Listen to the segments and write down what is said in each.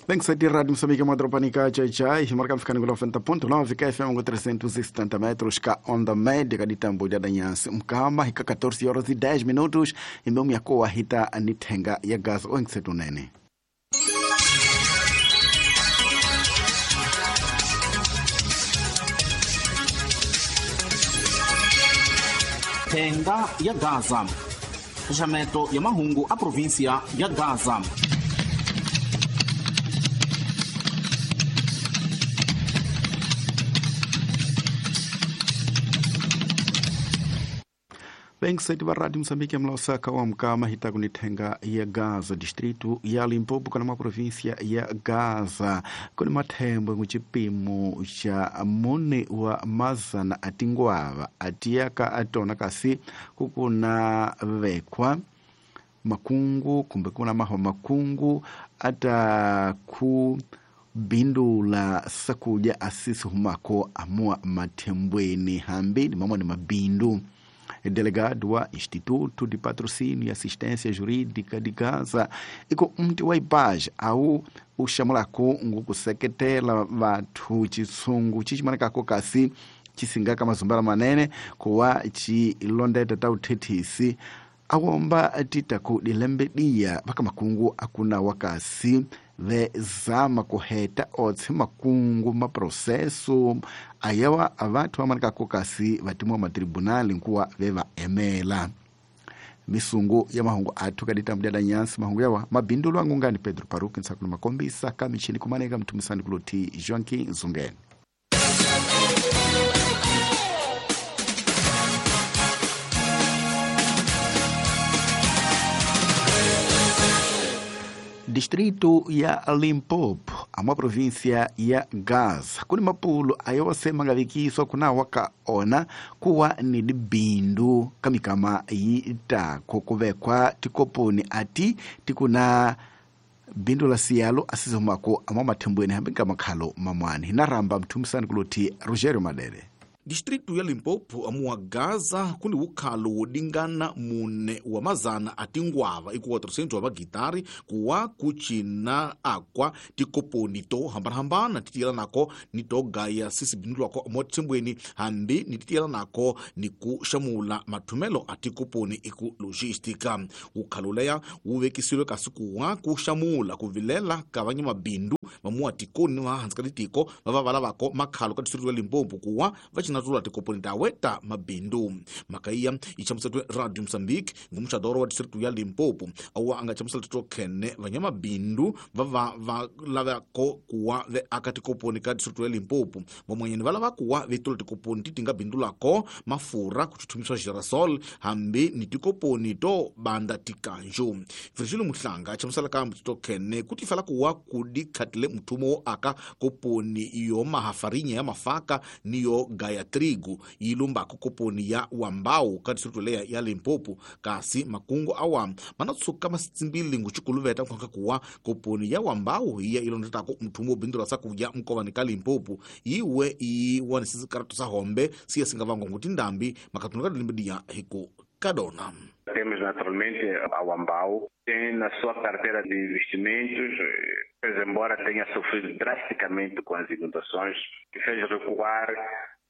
Bem que Rádio Moçambique, uma ka chai chai, marcando ficando com 90.9, KFM com 370 metros, cá onda média de tambo de danhanse, mkama, hika 14 horas e 10 minutos, e meu minha coa hita anitenga ya gás o nene. Thenga ya Gaza, xaxameto ya mahungu a província ya Gaza. Bem que va Rádio Moçambique mlaosaka wa mkama hita kunithenga ya Gaza, distrito ya Limpopo kana província ya Gaza, kuni mathembo nguchipimo cha mune wa mazana atingwava atiyaka atona kasi kukuna vekwa makungu kumbe kuna maho makungu ata ku bindula sakuja asisi humako amua mathembweni hambi ni mamwe ni mabindu. Delegado wa Instituto de Patrocínio e Assistência Jurídica de Gaza iko mti wa ipage au uxamulako ngukuseketela vathu chisungu chichimanekako kasi chisingaka mazumbala manene kuwa chilondeta ta uthethisi awomba titaku dilembe diya vaka makungu akuna wakasi vezama kuheta otse makungu maproseso ayawa avathu amanekako kasi vatimwa matribunali nkuwa veva emela misungu ya mahungu athu kadita mdyada nyansi mahungu yawa mabindulo angungani Pedro Paruki nsakuna makombisa kamichini kumaneka mthumisani kuloti Joaquim Zungeni. Distrito ya Limpopo, a província ya Gaza, kuni mapulo ayose mangavikiswa kuna wakaona kuwa ni dibindu kamikama yitako kuvekwa tikoponi ati tikuna bindu la siyalo asizomako ama mathembweni hambi kamakhalo mamwani hinaramba mthumisani kuloti Rogério Madere. Distrito ya Limpopo amuwa Gaza kuni ukhalo wodingana mune wa mazana atingwava iku 400 wa magitari kuwa kuchina akwa tikoponi to hambanahambana titiyela nako ni togaya sisi bindulwako amothembweni hambi ni titiyela nako ni kuxamula mathumelo a tikoponi iku logística. Ukhalo leya wu vekisiwe kasi kuwa kuxamula kuvilela ka vanyamabindu vamuwa tikoni va hansi ka titiko va va lavako makhalo ka distrito ya Limpopo kuwa va cina tula tikoponi taweta mabindu. Makaiya ichamusatwe Radio Mozambique ngumuxadoro wa distrito ya Limpopo awa anga chamusela tito khene vanyamabindu va va lavako kuwa ve aka tikoponi ka distrito ya Limpopo vamwanyeni va lava kuwa ve tula tikoponi ti tinga bindulako mafurha kuchuthumiswa girasol hambi ni tikoponi to banda tikanjo. Virgilio Muhlanga chamusela kambe tito khene kuti fala kuwa kudikhatile mthumo wo aka koponi yo mahafarinya ya mafaka ni yo gaya trigo yilumbako koponi ya wambau ka distrito leya ya Limpopo kasi makungu awa manatsuka masitsimbili nguchikuluveta nkhwanka kuwa koponi ya wambau iya ilondetako mthumo wo bindula sakuja mkovani ka Limpopo yiwe iwanisisi karatu sa hombe siya singavangwa nguti ndambi makatunu ka dilimbidiya hiku kadona. Temos naturalmente a Wambau, tem na sua carteira de investimentos, pois embora tenha sofrido drasticamente com as inundações, que fez recuar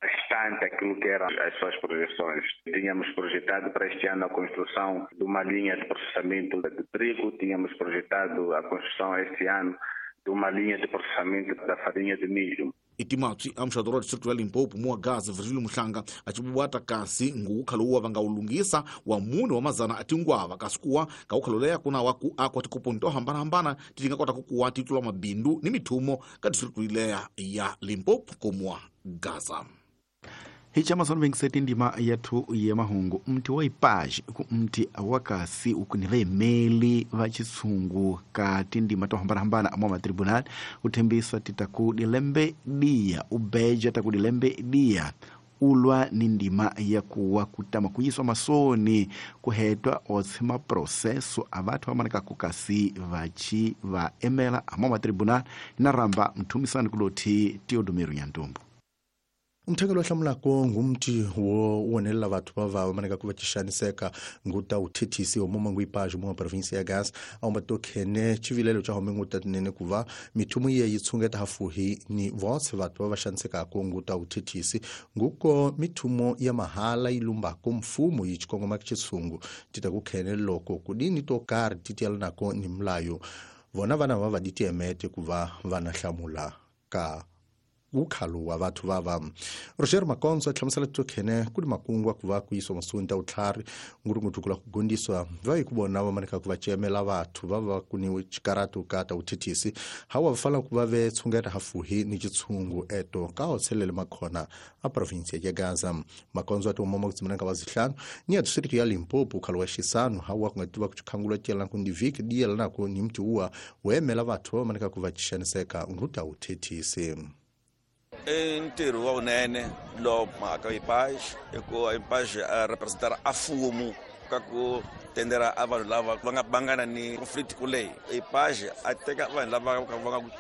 bastante aquilo que eram as suas projeções. Tínhamos projetado para este ano a construção de uma linha de processamento de trigo, tínhamos projetado a construção este ano de uma linha de processamento da farinha de milho. Itimatsi amuxadoro wa distrito ya Limpopo muwa Gaza Virgilio Muhlanga acibuwata kasi nguukhalo uwa vanga ulungisa wa mune wa mazana atingwava kasi kuwa kaukhalo leya kuna wa ku akwa tikoponi to hambanahambana titinga kota kukuwa titula mabindu ni mithumo ka distrito ileya ya Limpopo komuwa Gaza. Hichamasono vengiseti ndima yathu ya mahungu mti wa ipaji ku mti wakasi ukuni vemeli va chisungu ka tindima to hambanahambana amwa matribunal uthembisa titaku dilembe dia ubeja taku dilembe dia ulwa ni ndima ya kuwa kutama kuyiswa masoni kuhetwa otse maproseso avathu amaneka kukasi vachi va emela amwa matribunal inaramba mthumisani kuloti Teodomiro Nyantumbu. Umthekelo wa hlamulako ngumthi wo wonelela vathu va maneka ku va xaniseka nguta uthethisi omoma nguipaji mwa provinsia ya Gaza aumba tokhene chivilelo cha home nguta tinene kuva mithumo ye yi tshungeta hafuhi ni votse vathu va xanisekako nguta uthethisi nguko mithumo ya mahala yi lumbako mfumo yi xikongoma xitshungu tita ku khene loko kudini to karhi ti tiyelanako ni mulayo vona vana va ditiemete ku va vana hlamula ka ukhalo wa vathu vava. Roger Makonzo hlamusela tokhene kuli makungwa ku va ku yiswa masunta utlhari ngurungutu kula ku gondiswa va yi ku vona va maneka ku va cemela vathu va va kuniwe xikaratu ka ta uthethisi hawa va fala ku va ve tshungeta hafuhi ni xitshungu eto ka hotshelele makhona a provinsia ya Gaza. Makonzo ati umoma kutsimana ka vazihlanu ni ya district ya Limpopo ukhalo wa xisanu hawa ku nga tiva ku xikhangula tiyelana ku ndivhiki diyelana ku ni mti uwa wemela vathu va maneka ku va xaniseka nguta uthethisi. Ntirho wa vunene lo mhaka IPAJ i ku IPAJ a representar a fumo ka ku tendera a vanhu lava va nga bangana ni conflict kuleyi. IPAJ a teka vanhu lava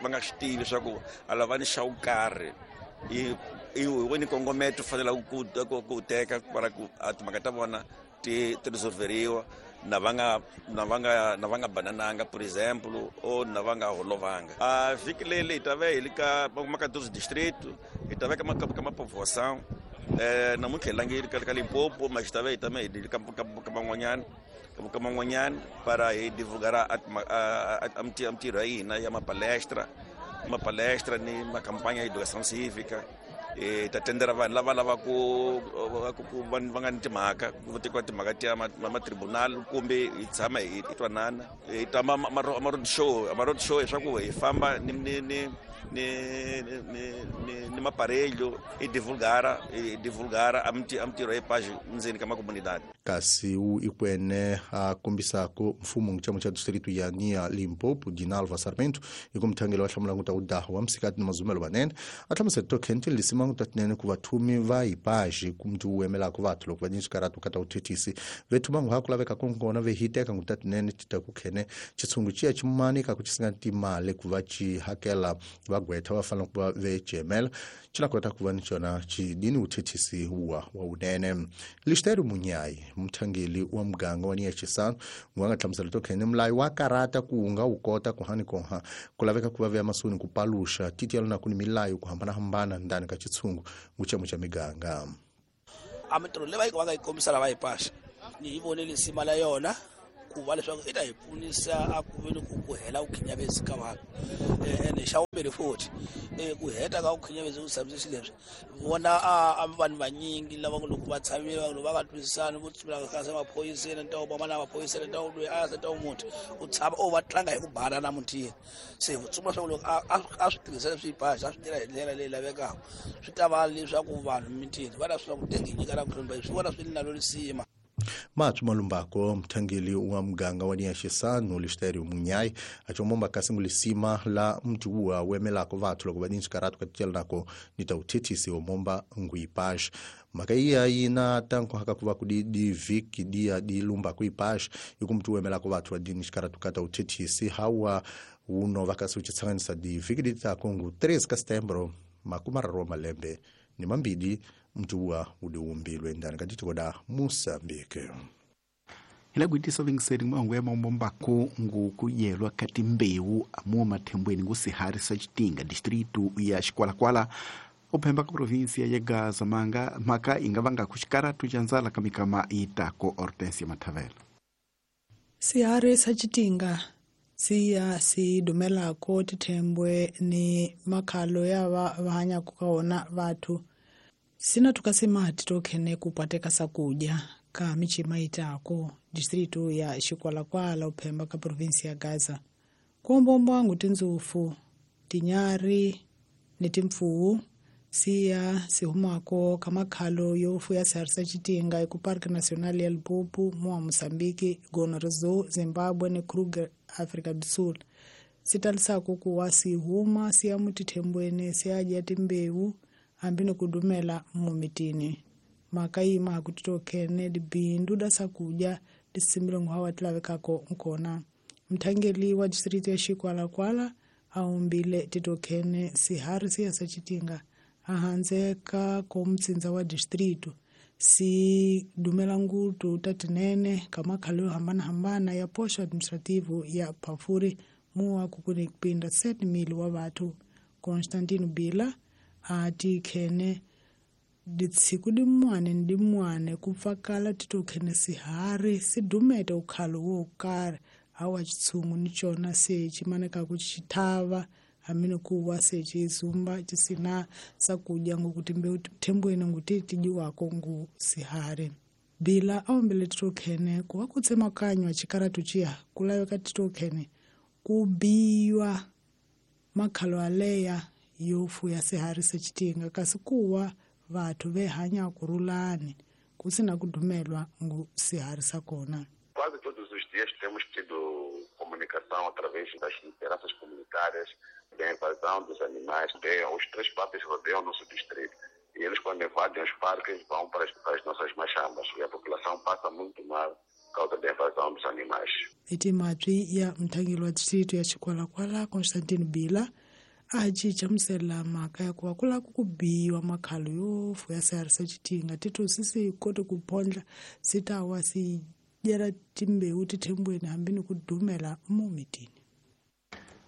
va nga swi tivi leswaku a lava ni xa wo karhi i wini kongometo fanela ku teka para ku a timhaka ta vona ti resolveriwa na va nga banananga por exemplo ou na va nga holovanga. A vhiki leyi hi ta va hi le ka maka 12 distrito, hi ta va ka ma povoação. Namuntlha hi langile ka Limpopo, mas hi ta va hi tame hi le ka man'wanyana para hi divulgar a mintirho ya hina ya mapalestra ni makampanha ya educação cívica. Ta tendera vanhu lava lava ku va nga ni timhaka ku tekiwa timhaka ta matribunal kumbe hi tshama hi twanana. Hi ta ma road show leswaku hi famba ni maparelho hi divulgara a mintirho ya IPAJ ndzeni ka makomunidade. Kasi u ikwene a kombisako mfumo ngitshamu cha distrito ya Nia Limpopo Dinalva Sarmento ikumthangelo wa hlamula nguta udaho wa msikati ni mazumelo banene a hlamusela tokhente lisima nguta tinene ku vathumi va IPAJ kumntu uwemelako vathu loko va ni xikaratu kata uthethisi vethu vangu ha ku laveka konkona ve hiteka nguta tinene tita ku khene xitshungu xiya ximanika ku xisinga timali ku va xi hakela vagwetha va fanele ku va ve cemela xi na kota ku va ni xona xidini uthethisi wa wunene. Lixteru Munyayi mthangeli wa muganga wa Nia Xisano wa nga hlamusela tokhene mulayo wa karata ku nga wu kota ku hani konha ku laveka ku va veya masoni ku paluxa titiyelo na ku ni milayo ku hambanahambana ndani ka xitshungu nguchemo xa miganga. A mintirho leyi va yi va nga yi kombisa lava IPAJ ni yi vonile sima la yona ku va leswaku i ta hi pfunisa a ku veni ku hela ku khinyavezi ka vanhu. Ene xa vumbirhi futhi ku heta ka ku khinyavezi ku tshamise xileswi vona a vanhu vanyingi lava loko va tshamile vanhu va nga twisisani vo tsumela ka maphoyiseni nta wo na maphoyiseni nta wo loyi a ta wo muthi u tshama o va tlanga hi ku bana na muthini. Se ku tsumela swa loko a swi tirhisa leswi IPAJ a swi tirha hi ndlela leyi lavekaka swi ta va leswaku vanhu mitini va ta swi ku tengi nyika na ku hlomba swi vona swi nalo lisima. Mathu malumbako mthangeli wa muganga wa Nia Xisano Lixterio Munyayi achomomba kasi ngulisima la mti uwa wemelako vathu loko va ni xikaratu ka tiyelanako ni ta uthethisi omomba ngu IPAJ. Mhaka iya yina tanko haka ku va ku di vhiki dia di lumba ku IPAJ ikumti wemelako vathu va dini xikaratu ka ta uthethisi hawa uno va kasi u xitsanganisa di vhiki di ta kongu 3 ka setembro makumararo wa malembe ni mambili mtuwa udiwumbilwe ndani ka ditiko da Moçambique. Hila kuitisa vingiseri mwangu ya maumbombako ngu kuyelwa kati mbewu amuwa mathembweni ngu sihari sa Chitinga distritu ya Xikwalakwala uphemba ka provinsia ya Gaza manga maka ingavanga kuxikaratu xa ndzala ka mikama itako. Hortensia Mathavela. Sihari sa Chitinga siya si dumelako tithembwe ni makhalo ya va hanyaka ka wona vathu sina tukasema titokhene kupateka sakudya ka michima itako distritu ya Xikwalakwala uphemba ka provinsi ya Gaza. Kuombombo wangu tinzufu tinyari ni timpfuwu siya sihumako kamakhalo yo fuya sihari sa Chitinga eku Parque Nacional ya Limpopo mua Moçambique, Gonorzo, Zimbabwe ni Kruger, Afrika do Sul. Sitalisako kuwa sihuma siya mutithembweni siyadya timbewu hambi ni ku dumela mumitini. Mhaka yi ma ku titokhene dibindu da sakudya disimbile nguhawa ti lavekako nkona. Mthangeli wa distritu ya Xikwalakwala a umbile titokhene sihari siya sa Chitinga Ahandze ka komtsindza wa distrito si dumela ngutu tatinene ka makhalo yo hambanahambana ya posto administrativo ya Pafuri muwa kukuni kupinda 7,000 wa vathu. Constantino Bila ati khene ditsiku dimwane ni dimwane kupfakala titokhene sihari sidumete ukhalo wo karhi awa chitshungu ni chona se chimanekaku chithava hamene kuwa se chizumba chisina sakudya ngokuti mbeu thembweni nguti tijiwako ngu sihari. Bila aombele titokhene kuwa kutsemakanywa chikaratu chiya kulaveka titokhene kubiwa makhalo aleya yo fuya sihari sechitinga kasi kuwa vathu vehanya kurulani kusina kudumelwa ngu sihari sakona. Quase todos os dias temos tido comunicação através das lideranças comunitárias da invasão dos animais. Os três parques rodeiam o nosso distrito e eles, quando invadem os parques, vão para as nossas machambas e a população passa muito mal por causa da invasão dos animais. Itimatwi ya mthangeli wa distrito ya Chikwalakwala Constantino Bila a cinca musela mhaka ya kuva ku lava ku biwa makhalo yo fuya sihari sa xitinga tithosi si kote ku phondla si ta wa si dyela timbewu tithembweni hambi ni ku dumela momitini.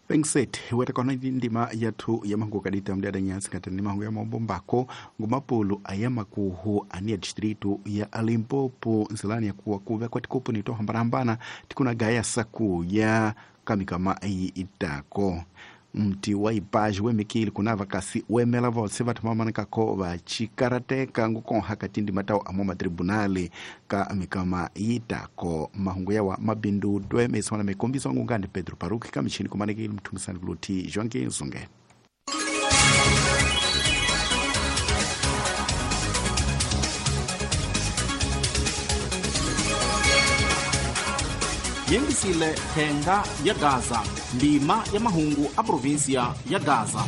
Pengset weta kona ndima yathu ya mahangu kadita mdiada nyasi kata ni mahangu ya mabombako ngumapulu ayamakuhu ania distrito ya Limpopo nzilani ya kuwa kuve kwa tikopo ni tohambana tikuna gaya saku ya kamikama itako mti wa ipaji wemikili kunava kasi wemela votse vathu vamanikako vachikarateka ngukonha katindi matau amo matribunali ka mikama yitako mahungu yawa mabindu dwe mesona mekombiso ngungandi Pedro Paruki kamichini kumanekile mthumisani kuluthi Joaquim Zunge. Yengisile thenga ya Gaza, ndima ya mahungu a província ya Gaza.